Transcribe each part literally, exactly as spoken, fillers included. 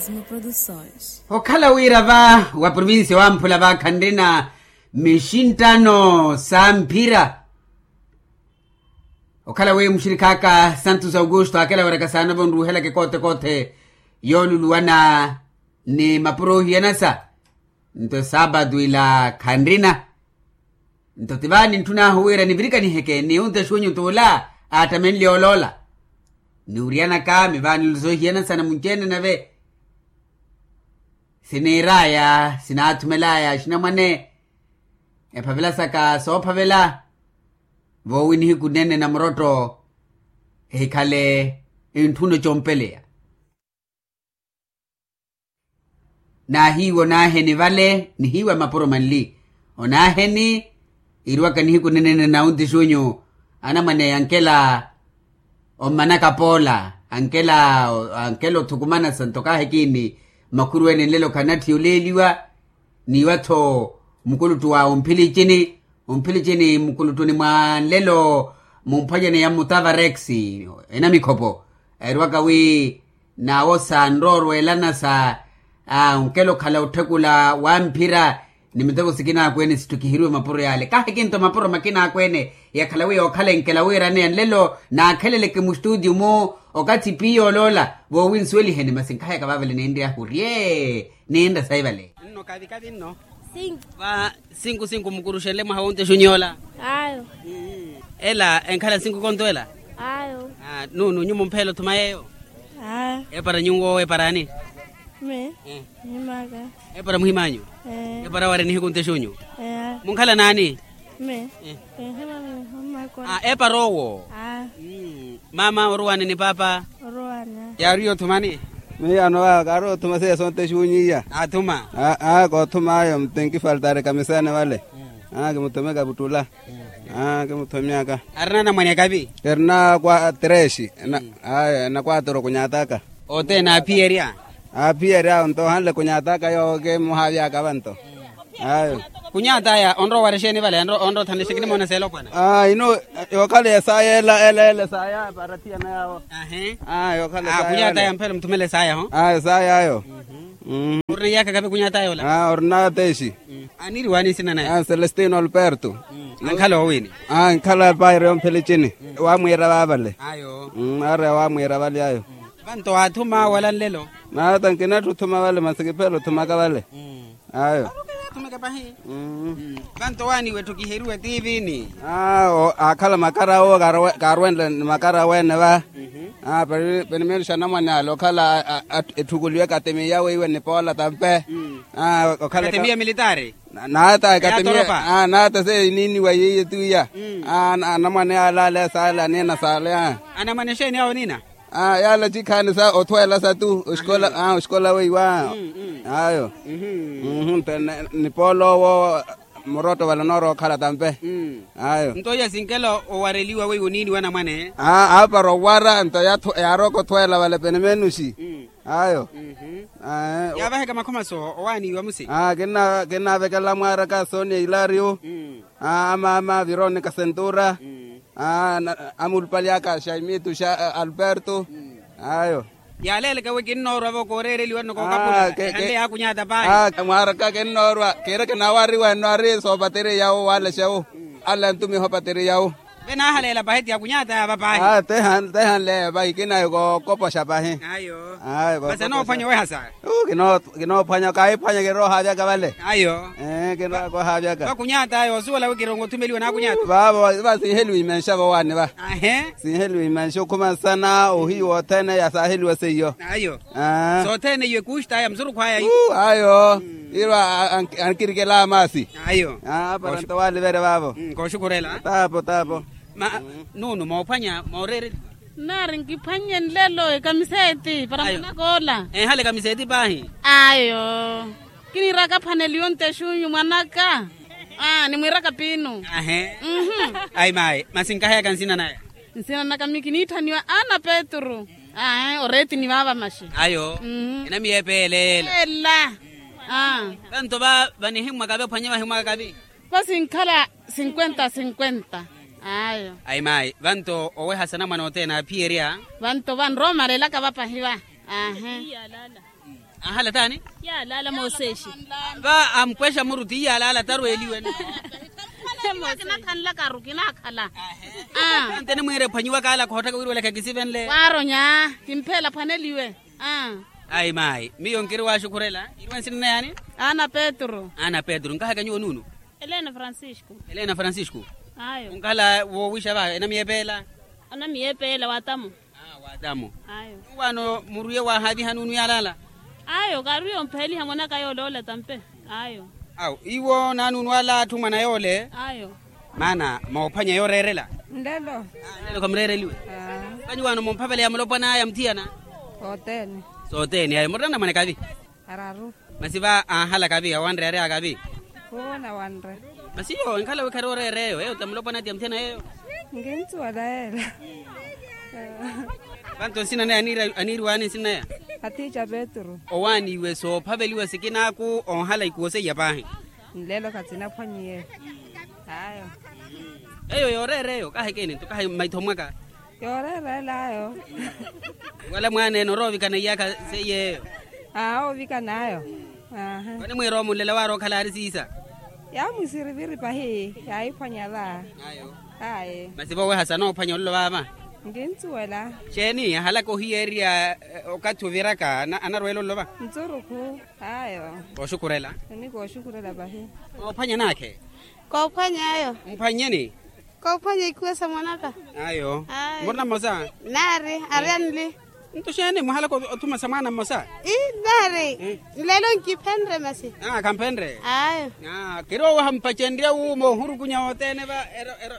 Produções. Okhala wira va wa provincia wamphula va khanrina mixinttano sa mphira. Okhala wi muxirikhaka santos augusto akela wiraka saana vonruuhelaka ekoote-koothe yooluluwana ni mapuro ohiyanasa. Nto esaapatu ila khanrina. Nto ti vaani ntthun'ahu wira nivirikaniheke ni onte xunyu t'ula aattamenle oloola. Niwuriyanaka mivaani olusa ohiyanasa na munci-ene nave siniir'aya sinaathumel'aya axinamwane ephavela saka soophavela. Voowi nihiku nene na murotto ehikhale entthuna ecompeleya. Naahiiwa onaaheni vale nihiiwa mapuro manli. Onaaheni iriwaka nihiku nenene na onti xunyu anamwane ankela ommanaka poola ankela ankela othukumana santo kaahekini. Makhuru ene nlelo khanatthiya oleeliwa niiwa-tho mukuluttu wa omphilicini omphilicini mukuluttuni mwa nlelo mumphwanyaneya mmutava rex enamikhopo. Eriwaka wi naawo sanroorweelana sa onkela okhala otthekula wamphira ni miteko sikinaakwene sittukiheriwe mapuro yaale kahikinto mapuro makinaakwene. Yakhala wi yookhala enkela wiiraneya nlelo naakheleleke mustutio-mu okathi piya oloola voowinsuweliheni masi nkahayaka vaavale ninryahu rye ninrya sayi vale. Nno kavi kavi nno. Sinku. Va sinku sinku mukuruxenle mwaha wonte xunyola. Ayo. Ela enkhala sinku konto ela. Ayo. Nunu nyumu mphela othuma yeyo. Epara nyuwo epara ani? Me. Muhimaka. Epara muhimanyu. Epara wari nihiku nte xunyu. Munkhala naani? Me. Epara owo. Mama oruwani ni papa. Oruwani. Yaari othumani? Miyo ano kaari othuma seiya sonte xuunyiya. Athuma. Aa koothuma ayo mtenkifaltari kamisene vale. Kimuthomeka vuttula. Kimuthomyaka. Arina anamwane kavi? Erina kwa tresi. Ayo enakwatoro kunyataka. Othene aaphiyerya. Aaphiyerya awo nto ohanle kunyataka yoowo kimuhaavyaka vanto. Ayo. Kunyata aya onrowa wari exeeni vale onrowa othanle exeeni moona seelopwana? Ino yookhala esaya ela ela ela esaya para thiyana yawo. Ahe. Kunyata aya mphelo muthumele esaya ho. Ayo esaya ayo. Orina iyaka kapi kunyata aya ola? Orina tesi. Aniriwani nsina naye? Celestino alberto. Ankhala owiini? Ankhala paire omphele cini. Wamwiira vaavale. Ayo. Aari wamwiira vale ayo. Vanto waathuma wala nlelo? Naata nkinatthi othuma vale masi kiphela othumaka vale. Ayo. Vanto waaniwe etthukiheriwe tiivini? Aakhala makara awo kaarwenle ni makara aweene va. Penimenuxa anamwane ale okhala etthukuluwe ekatemiya weiwe nipoola tampe. Katemiya militari? Naata ekatemiya. Naata se iniiniwa yiiye tiya. Anamwane ale ale saale aniina saale. Anamwane exeeni awo oniina? Yaala cikhaani sa othweela satu oxikola weiwa. Ayo. Nte nipooloowo murotto vale onoorowa okhala tampe. Ayo. Nto iya sinkela owareliwa weiwo niiniwa anamwane? Aapara owara nto yaarooka othweela vale penemenuxi. Ayo. Yaavaheka makhomaso owaaniiwa musi? Kinnaavekela mwaaraka sonia hilario. Amaama vironika sentura. Amulupali aka xaimitu xa alberto. Ayo. Yaaleeleka wi kinnoorwa vo kooreereliwa nno kookapula. Ehanle yaakunyata paahi. Mwaaraka kinnoorwa kiira kinaawariwa enno ari soopateriya wo waalexewo. Ala ntumiha opateriya wo. Ve naahaleela pahi ti yakunyata yaava paahi. Tehanle pahi kinayi kookopoxa pahi. Ayo. Masi anoophwanya owehasa? Kinoophwanya kaahiphwanya kiroohaavyaka vale. Ayo. Kinoohaavyaka vakunyata ayo osuwela wi kirongo othumeliwa naakunyata. Vaavo va sinheliwa imenxa vowaani va. Sinheliwa imenxa okhuma nsana ohiiwa othene yasaaheliwa seiyo. Ayo. Sothene iyo ekuxta aya musurukhu aya. Ayo. Iro ankirikela amaasi. Ayo. Para nto waaliverya vaavo. Kooxukhurela. Taapo taapo. Nunu moophwanya mooreereliwa? Nnaari nkiphwannye nlelo ekamiseeti para mwanaka ola. Ehale ekamiseeti paahi. Ayo. Kiniiraka aphaneliwe onte exunyu mwanaka. Nimwiiraka piinu. Ayi mayi masi nkaheyaka nsina naya? Nsina naka mi kiniitthaniwa ana petru. Oreetini vaava maxi. Ayo. Enamiyeepa eela eela. Vanto va vanihimmwaka vaphwanye vahimwaka kavi? Vasinkhala sinkwenta sinkwenta. Ayo. Ayi mayi vanto owehasa anamwane othene aaphiyerya. Vanto vanrowa omalelaka vapahi va. Aahe. Ahala taani? Yaalaala mooseexi. Va ampwexa muru ti yaalaala tarweeliwe. Kinakhanlakaru kinakhala. Ntene mwiire ephwanyiwa kaala khoottaka wiirwelaka kisivenle. Waaronya. Kimpheela phwaneliwe. Ayi maayi miyo nkiri waaxukhurela. Iriwe nsina na yaani? Ana petru. Ana petru nkahaka nyuwo nuunu? Elena francisco. Elena francisco. Ayo. Onkhala woowixa va enamiyepeela? Onamiyepeela watamu. Watamu. Ayo. Nuwano muriye wahaviha nuunu yalala? Ayo kariyo mpeliha mwanaka yoloola tampe. Ayo. Awo iwo nanuunu ala atthu mwana yole? Ayo. Maana moophwanya yoreerela? Nlelo. Nlelo khamurereliwe. Kanyi wano mumphavela ya mulopwana aya muthiyana? Sothene. Sothene ayo murina namwane kavi? Araru. Masi va anhala kavi awanreyareya kavi? Uwo nawanre. Masi yo enkhala wikhari oreereyo eyo tamulopwana ati ya muthiyana yeyo? Nkinsuwela yela. Vanto nsina naya aniiriwani nsina naya? Atiica petru. Owaaniwe soophaveliwa sikinaaku onhala ikuwo seiya paahi? Nlelo khatinaphwanyiye. Ayo. Eyo yooreereyo kaha ekeeni nto kaha mmaitho mwaka? Yooreereela ayo. Wala mwaana ene oroovikana iyakha seiya eyo? Aa oovikana ayo. Mani mwiira omunlela waari okhala aari siisa? Yaamwisiriviri pahi yaahiphwanya va. Ayo. Aye. Masi vooweha sanoophwanya ololo vaava? Nkinsuwela. Xeeni ahalaka ohiyeerya okathi oviraka anarweela ololo va? Ntsurukhu. Ayo. Kooxukhurela. Ni kooxukhurela pahi. Koophwanya naakhe? Koophwanya ayo. Mphwanyeni? Koophwanya ikhuwa sa mwanaka. Ayo. Murina mmosa? Naari ari anli. Nto xeeni muhalaka othuma sa mwaana mmosa? Ii naari. Nlelo nkiphenre masi. Khamphenre. Ayo. Kiri owaha mpacenrya wuuma ohurukunya othene va ero ero.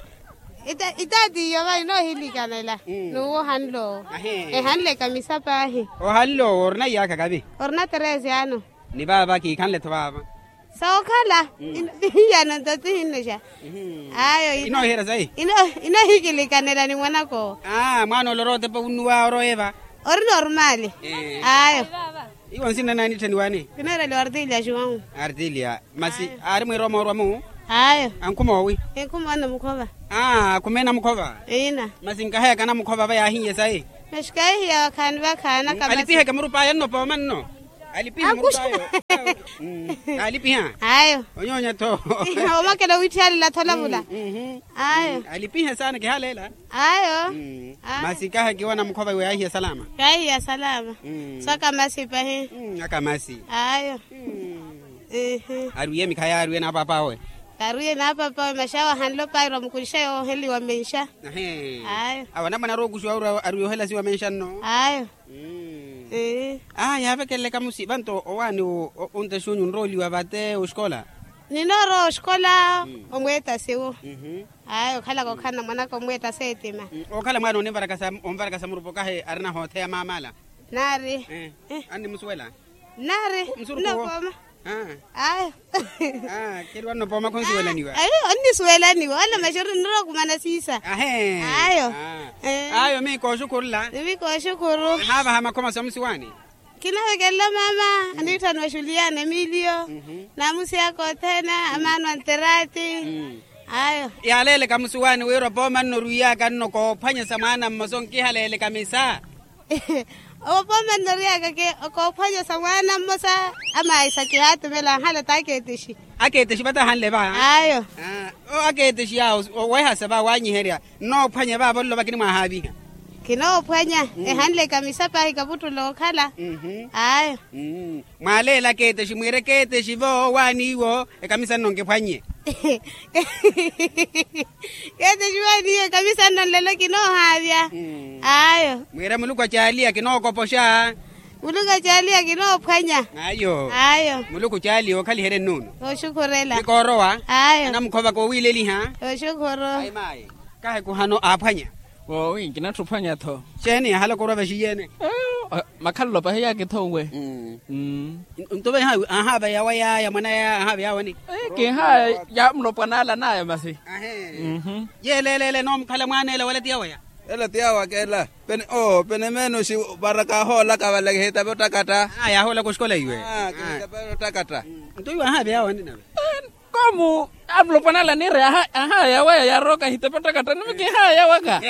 Itaatiiyo va inoohilikanela. Nuwo ohanle owo. Ehanle ekamisa paahi. Ohanle owo orina iyaakha kavi? Orina trese ano. Ni vaava kiikhanle-tho vaava. Sookhala. Hiyano nto tihinnoxa. Ayo. Inoohiherya sayi? Inoohikilikanela ni mwanaka owo. Mwaana ole orowa otepa wunnuwa orowa eva? Ori normali. Ayo. Iwo nsina nani itthaniwani? Kineereliwa artilia joão. Artilia. Masi aari mwiiroma orwa-mu? Ayo. Ankhuma owi? Enkhuma anamukhova. Akhumeena mukhova? Masi nkaheyaka anamukhova va yaahiye sayi? Masi kahihiya wakhaani vakhaana kamasi. Alipiheke murup'aya nno pooma nno? Alipiha murup'ayo? Alipiha. Ayo. Onyoonya-tho. Omakela owitthiyalela thola vula. Ayo. Alipiha saana kihaleela. Ayo. Masi kaha kiwana mukhova iwe yaahiya salama? Yaahiya salama. Saka masi pahi. Aka masi. Ayo. Arwiye mikhayi arwiye n'apap'awe? Arwiye n'apap'awe masi awo ahanle opairwa mukulixa yooheliwa menxa. Ayo. Awo anamwane arowa okuxiwa arwiye ohela siwa menxa nno? Ayo. Aa yaavekelele kamusi vanto owaani ontaxuunyu nrooliwa vate oxikola? Ninoorowa oxikola. Omweetasi wo. Ayo okhalaka okhala mwanaka omweetasi etima. Okhala mwaana onvarakasa murupa okahi arina hootheya maamala? Naari. Annimusuwela? Naari. Nnopooma. Ayo. Keri wannopooma khunsuwelaniwa? Ayo onnisuwelaniwa wala maxeru nnirowa okumana siisa. Ayo. Ayo mii kooxukhurula. Mii kooxukhuru. Ahaavaha makhoma somusiwaani? Kinavekelela maama aniitthaniwa xuliana emiliyo. Namusiyaka othene amaano anterati. Ayo. Yaaleeleka musiwaani wira opooma nnorwiiyaka nno koophwanyesa mwaana mmosa onkihaleeleka misa. Opooma nnoriyaka koophwanyesa mwaana mmosa. Amaisa kihaatumela anhala t'akeetexi. Akeetexi vata ahanle va? Ayo. Akeetexi yaawo owehasa va wanyiherya nnoophwanya vaavo nlo vakinimwahaaviha. Kinoophwanya ehanle ekamisa paahi kaputtula okhala. Ayo. Mwaaleela akeetexi mwiire keetexi vo waaniiwo ekamisa nno nkiphwannye. Keetexi waaniiwo ekamisa nno nlelo kinoohaavya. Ayo. Mwiire muluku acaaliya kinookopoxa. Muluku acaaliya kinoophwanya. Ayo. Ayo. Muluku caaliya okhaliherye nnuunu. Oxukhurela. Kikoorowa. Ayo. Anamukhova koowiileliha. Oxukhuru. Ayi maayi. Kahi kuhano aaphwanya. Woowi nkinatthu ophwanya-tho. Xeeni ahalaka orwa vaxiyeene? Makhalelo pahi yaaki-tho nwe. Nto vahi ahaava yawa yaaya mwana yaaya ahaava yaawani? Kihaaya ya mulopwana ala naaya masi. Yeeleeleele noomukhala mwaana ela wala ti yawaya? Ela ti yawaka ela. Pene oo pene meenoxi. Varaka ahoolaka valakihitave ottakatta. Aya ahoolaka oxikola iwe. Kihitave ottakatta. Nto iwe ahaava yaawani nave? Amu amulopwana ala niire ahaya waya yaroka hitepettaka ttani mi kihaya waka.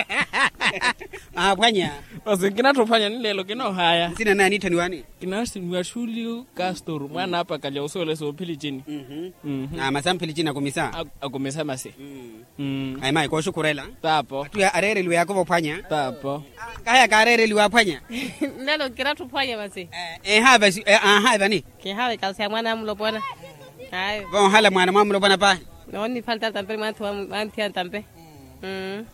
Aphwanya. Masi nkinattha ophwanya ni leelo kinoohaya. Nsina naye aniitthaniwani? Kinaasiniwa xulio kastor mwaana apa kalya osuwela soophilichini. Masi amphilichini akumisa. Akumisa masi. Ayi mayi kooxukhurela. Taapo. Atthu areereliwa yakuva ophwanya. Taapo. Kahaya kaareereliwa aphwanya. Nelo nkirattha ophwanya masi. Ehaava ehaavani. Kihaava ekasi ya mwaana amulopwana. Ayo voohala mwaana mwamulopwana paahi. Noonifaltala tampe ni mwanthi wa mwanthi ya tampe.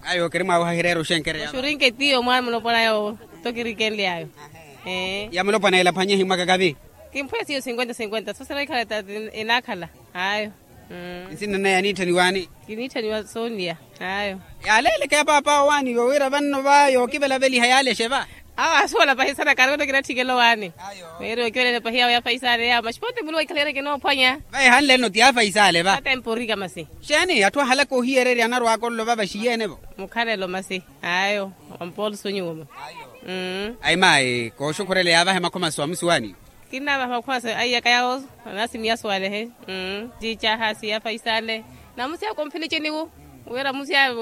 Ayo kiri mwaawaha hireera oxenkereya. Oxurinke tiyo mwaana mulopwana yoowo. Tokirikenly'ayo. Ya mulopwana ela phwanye himwaka kavi. Kimphweya siyo sinkwenta sinkwenta soosera ikhala tati. Enaakhala. Ayo. Nsina naye aniitthaniwani? Kiniitthaniwa sooniya. Ayo. Yaaleleke ya paapa owaani yowira vanno va yookivelaveliha yaalexe va. Awo asuwela pahi sana kaari wano kinatthikela owaani. Ayo. Weeri okivelela pahi yawo ya faisale yawo maxipote muluwa ikhala yari kinoophwanya. Va ehanle nno ti ya faisale va. Atempo orika masi. Xeeni atthu ahalaka ohiyererya anarwaka ololo va vaxiyeene vo. Mukhalelo masi. Ayo. Wampolso nyuwuma. Ayi mayi kooxukhurela yaavahe makhomaso amusuwaani. Kinnaavaha makhomaso aiyaka yawo. Anasimiya suwalehe. Ciicaha siya faisale. Namusiya komphilici niwu. Wira musiya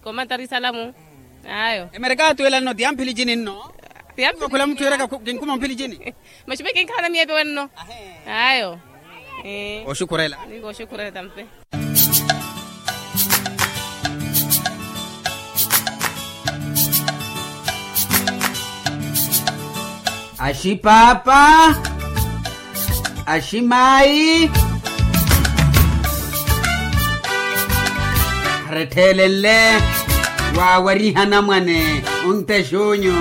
komantari salamu. Ayo. Emerekato ela nno ti ya mphilicini nno. Ti ya mphilicini. Khula mutthu eraka kinkhuma mphilicini. Maxume kinkhala na miyepe wenno. Ayo. Oxukhurela. Ninko oxukhurela tampe. Axipaapa. Aximaayi. Arettheelenle waawariha anamwane. Ontexuunyu.